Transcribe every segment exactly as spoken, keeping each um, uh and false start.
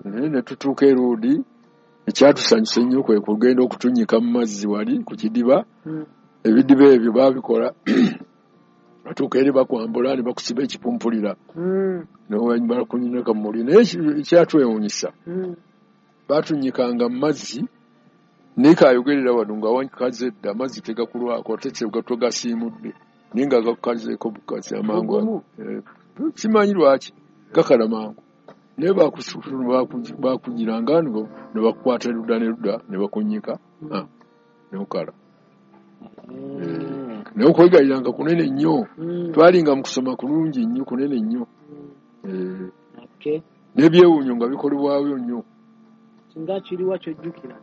Naye ne tutuuka e Luudi, ekyatusanyusa ennyo kwe kugenda okutunyika mu mazzi wali ku kidiba. Mm. Ebidiba ebyo baabikola, batuuka eri bakwambula ne bakusiba ekipumpulira Mm. nebakunyika mu muli. Naye ekyatwewuunyisa, Mm. baatunyikanga mu mazzi, naye kayogerera wano nga wakaze dda, amazzi tegakulwako ate tegasiimudde, naye nga gakukazeeko bukazi amangu. Gugumu. Eh, simanyi lwaki gakala mangu, naye bakugiranga ne bakukwata ludda ne ludda ne bakunyika, ah, nokala. Eh. Naye okwegayiranga kunene nnyo. Mm. Twalinga mu kusoma kulungi nnyo, kunene nnyo. Mm. Eh, Okay. n'ebyewuunyo nga bikolebwayo nnyo. Singa kiriwa kyojjukira?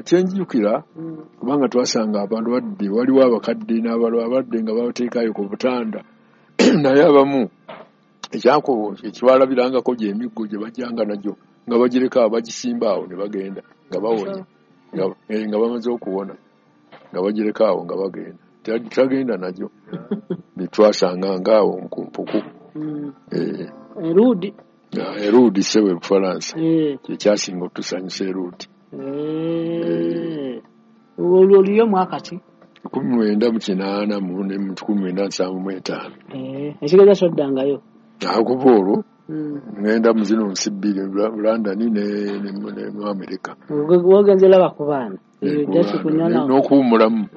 Kyenjjukira, Mm. kubanga twasanga abantu badde, waliwo abakadde n'abalwadde nga babateekayo ku butanda, naye abamu ekyako ekibalabirangako gy'emiggo gye bajjanga nagyo nga bagireka awo, bagisimba awo ne bagenda nga bawonye, nga, eh, nga bamaze okuwona nga bagireka awo nga bagenda. Tag- tagenda nagyo, bitwasanga ngaawo ku mpuku. Mm. Eh, Eruudi. Eruudi ssebo, Bufalansa. Eh. Kyekyasinga otutusanyusa Eruudi. Eh. Olwo oliyo mwaka ki? Kumi mwenda mu kinaana mu ne mu kikumi mwenda nsanvu mu etaano. Eh, ekitegeeza soddangayo. Akuva olwo Mm. ŋŋenda mu zino nsi bbiri, London ne, ne, ne mu Amerika. Wogenze laba ku baana. Eh, Eyo ku just baana. kunyana. N'okuwummulamu.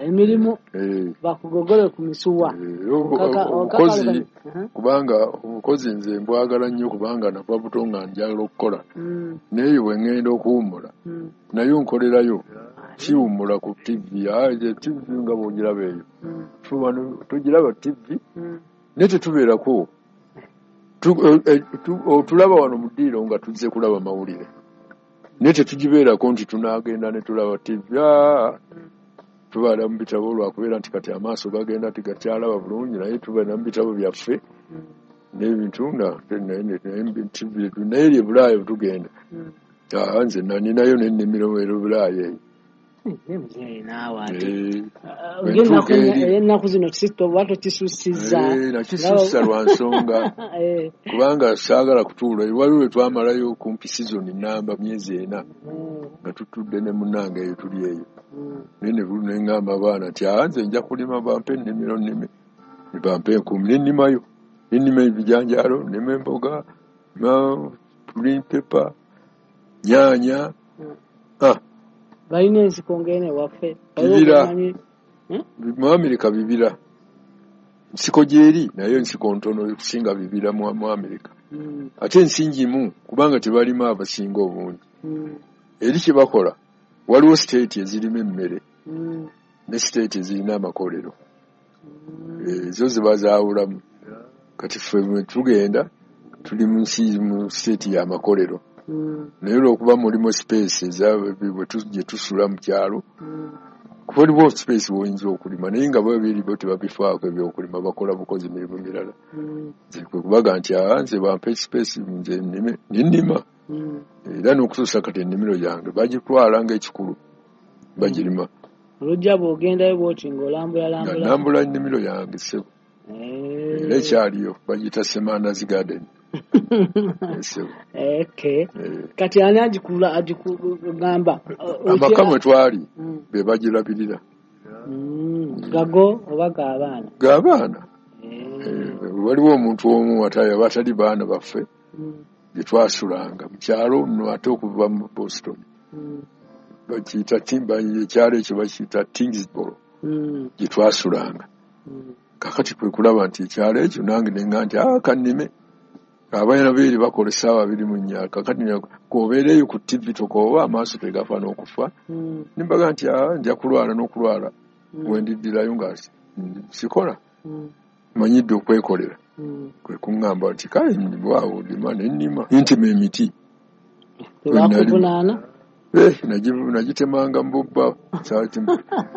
Emirimu Eh, bakugogole ku misuwa. eh, obu- Okaka- obukozi okaka- Uh-huh. kubanga obukozi nze mbwagala nnyo, kubanga nava buto nga njagala okukola. Mm. Naye bwe ŋŋenda okuwummula, Mm. naye nkolerayo, siwummula ku T V. Ah, T V nga bw'ogiraba eyo. Mm. Ffe wano tugiraba T V, Mm. naye tetubeerako. Tu- eh, eh, tu- otulaba wano mu ddiiro nga tuzze kulaba mawulire, naye tetugibeerako nti tunaagenda ne tulaba T V. Ah, tubeera mu bitabo lwakubeera nti kati amaaso gagenda tegakyalaba bulungi, naye tubeera mu bitabo byaffe Mm. n'ebintu nga naye T V. Naye eri e Bulaaya bwe tugenda, Mm. ah, nze nalinayo n'ennimiro e Bulaaya eyo. Eh, muzeeyi naawe ate. Eh, Ah, bwe Ennaku ntuuka eri ennaku zino kisito oba tokisussizza? Eh, nakisussa lwa nsonga, Eh. kubanga saagala kutuula. Waliwo lwe twamalayo kumpi season namba, myezi ena, Mm. nga tutudde ne munnange eyo, tuli eyo, Mm. naye ne ne ŋŋamba abaana nti, "Ah, nze nja kulima, bampe ennimiro nnime." Ne bampa enkumbi ne nnimayo, ne nnima ebijanjaalo, nnima emboga, nnima green pepper, nyaanya. Mm. Ah, Balina ensiko ng'eno ewaffe? Waliwo Bibira. gomanyi? Hmm? Mu Amerika bibira, nsiko gyeri, naye ensiko ntono okusinga bibira mu mu Amerika. Mm. Ate ensi ngimu kubanga tebalima abasinga obungi. Mm. Eri kye bakola, waliwo state ezirima emmere Mm. ne state ezirina amakolero. Mm. Ezo ziba zaawulamu. Kati ffe bwe tugenda tuli mu nsi mu state y'amakolero, Mm. naye olwokuba mulimu space eza bwe tu- gye tusula mu kyalo, Mm. kuba waliwo space w'oyinza okulima, naye nga bo biri bo tebabifaako ebyokulima, bakola bukozi mirimu mirala. Mm. Nze kwe kubaga nti, "Aa, nze bampe space nze nnime." Nennima. Mm. Era n'okutuusa kati ennimiro yange bagitwala ng'ekikulu, bagirima. Olujja bw'ogendayo bw'oti ng'olambula Nga lambula. nnambula ennimiro yange ssebo, era Eh. ekyaliyo, bagiyita Semanda's Garden. Eh, ssebo. Okay. Eh, Kati ani agikula, agikugamba? Amaka mwe twali Mm. be bagirabirira. Mm. Gago oba g'abaana? G'abaana. Eh. Eh, waliwo omuntu omu ate abatali baana baffe Mm. gye twasulanga mu kyalo nno, ate okuva mu Boston, Mm. bakiyita Timba, ekyalo ekyo bakiyita Tingsboro, Mm. gye twasulanga. Mm. Kakati kwe kulaba nti ekyalo ekyo nange nenga nti, "Ah, kannime." Abaana beeri bakola essaawa abiri mu nnya, kakati k'obeereeyo ku T V tokooba, amaaso tegafa n'okufa. Mm. Nimbaga nti, "Ah, nja kulwala n'okulwala, Mm. bwe ndiddirayo nga si- sikola, Mm. manyidde okwekolera." Mm. Kwe kuŋŋamba nti, "Kale waawo lima." Ne nnima, ntema emiti. Tebakuvunaana? Eh, nagi- nagitemanga mu bubba,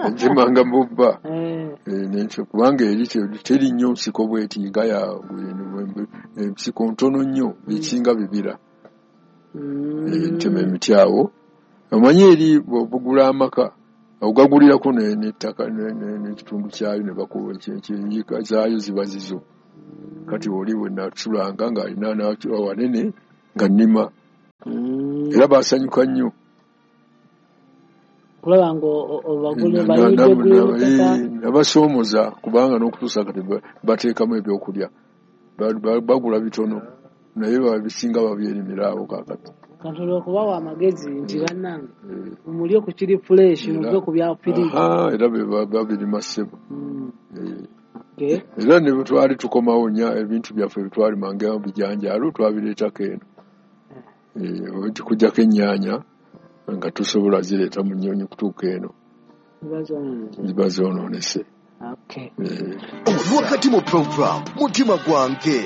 nagitemanga mu bubba. Eh. Eh, nentyo kubanga eri te- teri nnyo nsiko bweti nga ya ensiko ntono nnyo, ekisinga bibira. Mm. Eh, ntema emiti awo. Omanyi eri bw'ogula amaka ogagulirako ne- n'ettaka ne- ne- n'ekitundu kyayo, ne bakuwa ekyenyiika zaayo ziba zizo. Kati oli bwe nasulanga ng'alina wanene nga nnima. Mm. Era basanyuka nnyo. Kulaba nga obagulira. Nabasoomoza kubanga n'okutuusa kati bateekamu ebyokulya, bagula bitono naye babisinga babyerimira awo kaakati. Kantola okubawa amagezi nti bannange mulye ku kiri fresh, muve ku bya firiji. Era babirima ssebo. Era ne bwe twali tukomawo nya ebintu byaffe bitwalimanga bijanjaalo twabireetako eno. Okuggyako ennyaanya nga tusobola zireeta mu nnyonyi kutuuka eno ziba zoonoonese. Okay. Wakati mu program Mutima Gwange.